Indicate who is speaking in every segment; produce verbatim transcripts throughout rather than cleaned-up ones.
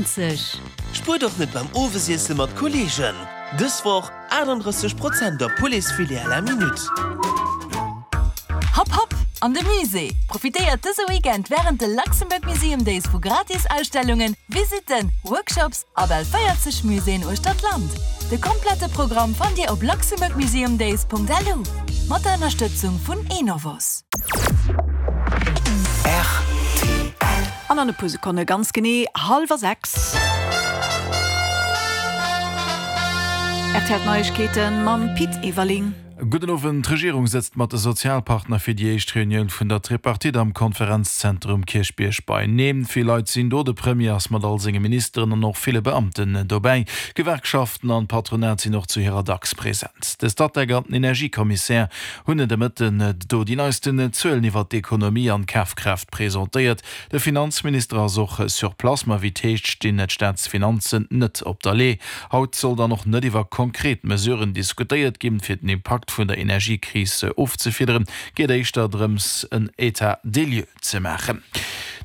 Speaker 1: zwanzeg.
Speaker 2: Spuert och net beim Owesiesse mat Kolleegen! Dës Woch achtundrësseg Prozent op Pouletsfilet à la minute.
Speaker 1: Hopp hopp an de Musée! Profitéiert dëse Weekend wärend de Luxembourg Museum Days vu gratis Ausstellungen, Visitten, Workshops a bal véierzeg Muséeën uechter d'Land. De komplette Programm fannt Dir op luxembourgmuseumdays Punkt lu. Mat der Ënnerstëtzung vun Enovos.
Speaker 3: An an e puer Sekonne ganz genee hallwer sechs. R T L Neiegkeeten mam Pit Everling.
Speaker 4: Gudden Owend. D'Regierung sëtzt mat de Sozialpartner fir déi éischt Reunioun vun der Tripartite am Konferenzzentrum Kierchbierg beieneen. Vill Leit sinn do, de Premier ass mat all senge Ministeren an och ville Beamten dobäi. Gewerkschaften an d'Patronat sinn och zu hirer dacks present. De Statec an den Energiekommissär hunn de Mëtten do déi neisten Zuelen iwwer d'Ekonomie an d'Kafkraaft presentéiert. De Finanzminister ass och sur place, ma wéi et heescht, stinn d'Staatsfinanzen net op der Lee. Haut soll dann och net iwwer konkret Mesuren diskutéiert ginn, fir den Impakt vun der Energiekris ofzefiederen, geet éischter drëms, en État des lieux ze maachen.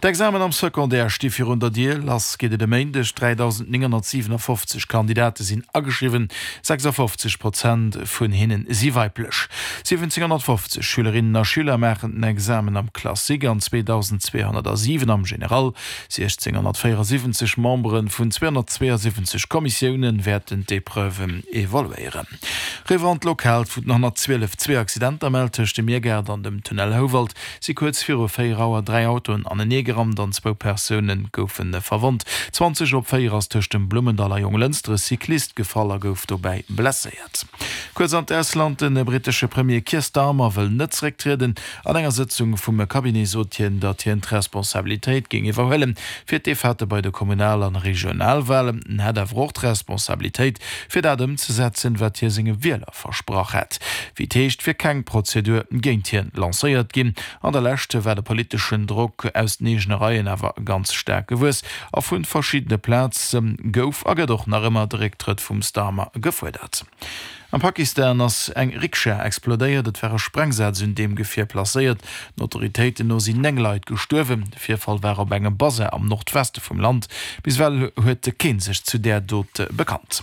Speaker 4: D'Examen am Secondaire sti virun der Dier, lass geet et e Méindeg. dräidausendnénghonnertsiwenafoffzeg Kandidate sinn ageschriwwen, sechsafofzeg Prozent vun hinne si weiblech. Siwwenzénghonnertfofzeg Schülerinnen a Schüler maachen den Examen am Classique an zweedausendzweehonnertsiwen am General. Siechzénghonnertvéierasiwwenzeg Membere vun zweehonnertzweeasiwwenzeg Kommissioune wäerten d'Epreuven evaluéieren. Eriwwer an d'Lokalt, wou den honnertzwielef zwee Accidenter mellt. Tëscht dem Miergaart an dem Tunnel Houwald si kuerz viru véier Auer dräi Autoen aneneegerannt an zwou Persoune goufe verwonnt. Zwanzeg op véier ass tëscht dem Blummendall a Jonglënster e Cyclist gefall a gouf dobäi blesséiert. Kuerz an d'Ausland, De brittesche Premier Keir Starmer wëll net zerécktrieden. An enger Sëtzung vum Cabinet sot hien, datt hien d'Responsabilitéit géing iwwerhuelen fir d'Defaite bei de Kommunal an Regionalwalen. En hätt awer och d'Responsabilitéit, fir dat ëmzesetzen, wat hie senge Wieler versprach hätt. Wéi et heescht, wier keng Prozedur géint hien lancéiert ginn. An der Lescht war de politeschen Drock aus den eegene Reien awer ganz staark gewuess a vu verschiddene Plaze gouf a gëtt och nach ëmmer de Récktrëtt vum Starmer gefuerdert. Am Pakistan ass eng Rikscha explodéiert. Et war e Sprengsaz un deem Gefier placéiert. Den Autoritéiten no sinn néng Leit gestuerwen. De Virfall war op engem Basar am Nordweste vum Land. Bis ewell huet kee sech zu där Dot bekannt.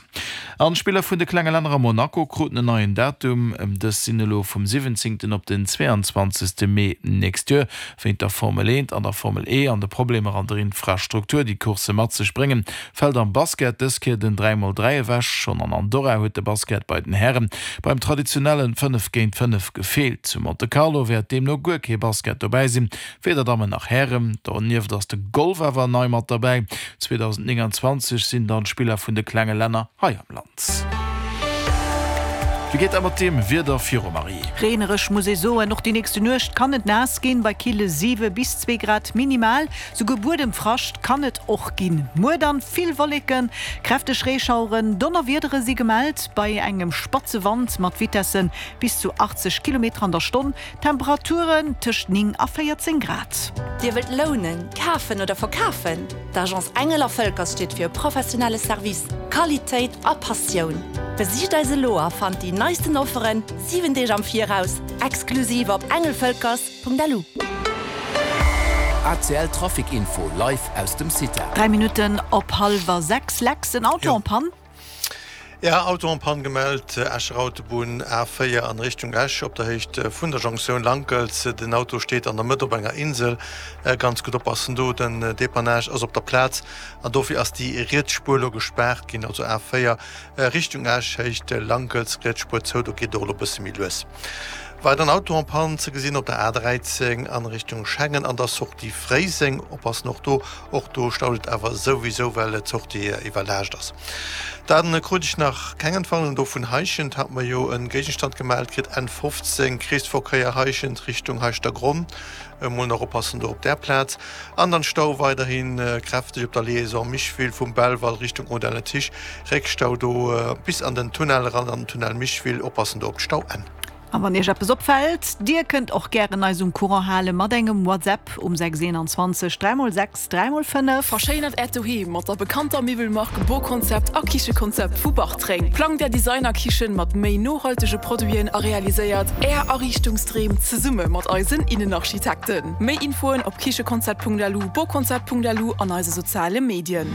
Speaker 4: An d'Spiller vun de klenge Länner a Monaco kruten en neien Datum. Dës sinn elo vum siwwenzéngten op den zweeanzwanzegste Mee nächst Joer. Wéint der Formel eent an der Formel E an de Problemer an der Infrastruktur, déi d'Coursse mat sech bréngen, fält am Basket dës Kéier den dräi mol dräi ewech. Schonn an Andorra huet de Basket bei den Hären beim traditionellen fënnef géint fënnef gefeelt. Zu Monte Carlo wäert deemno guer kee Basket dobäi sinn, weder Dammen nach Hären. Donieft ass de Golf awer nei mat derbäi. zweedausendnénganzwanzeg sinn dann d'Spiller vun de klenge Länner hei am Land. Wéi geet dat mat deem Wieder viru, Marie?
Speaker 3: Reenereg muss ee soen, och déi nächste Nuecht kann et naass ginn, bei kille siwe bis zwee Grad minimal. Souguer Buedemfrascht kann et och ginn. Muer dann vill Wolleken, kräfteg Reeschaueren, Donnerwiedere si gemellt, bei engem spatze Wand mat Vitesse bis zu achtzeg Kilometer an der Stonn. Temperaturen tëscht néng a véierzéng Grad.
Speaker 5: Dir wëllt lounen, kafen oder verkafen? D'Agence Engel a Völkers steet fir e professionelle Service, Qualitéit a Passioun. Besicht eis elo a fannt déi neisten Offeren siwen Deeg am Viraus, exklusiv op engelvölkers Punkt L U.
Speaker 6: A C L Trafic Info live aus dem CITA.
Speaker 3: Dräi Minutten op hallwer sechs. Lex, en Auto en panne?
Speaker 7: Ja, Auto en panne gemellt, Escher Autobunn A véier an Richtung Esch op der Héicht vun der Jonktioun Lankels. Den Auto steet an der Mëtt op enger Insel. Ganz gutt oppassen do, den Depannage ass op der Plaz an dofir ass déi riets Spuer elo gespaart ginn. Also A véier Richtung Esch, Héicht Lankels, riets Spuer zou, do geet et och elo e bësse méi lues. Weideren Auto en panne ze gesinn op der A dräizéng an Richtung Schengen an der Sortie Fréiseng. Oppassen och do, och do staut et awer souwisou, well d'Sortie iwwerlaascht ass. Dann krut ech nach keng Entwarnung do vun Heischent, hat mer jo e Géigestand gemellt kritt, N fofzéng, Kreesverkéier Heischent Richtung Heischtergronn. Emol nach oppassen do op där Plaz. An dann Stau weiderhi kräfteg op der Liaison Micheville vum Belval Richtung Audun-le-Tiche. Réckstau do bis an den Tunnel eran, an den Tunnel Micheville. Oppassen do op d'Stauenn.
Speaker 3: A wann Iech eppes opfält, Dir kënnt och gären eis um Courant hale mat engem WhatsApp um sechs eenanzwanzeg dräi mol sechs dräi mol fënnef.
Speaker 8: Verschéinert Äert Doheem mat der bekannter Miwwelmark Boconcept a Kichekonzept vu Bartreng. Plangt Är Designerkichen mat méi nohaltege Produiten a realiséiert Är Ariichtungsdreem zesumme mat eisen Innenarchitekten. Méi Infoen op kichekonzept Punkt lu, boconcept Punkt lu an eise soziale Medien.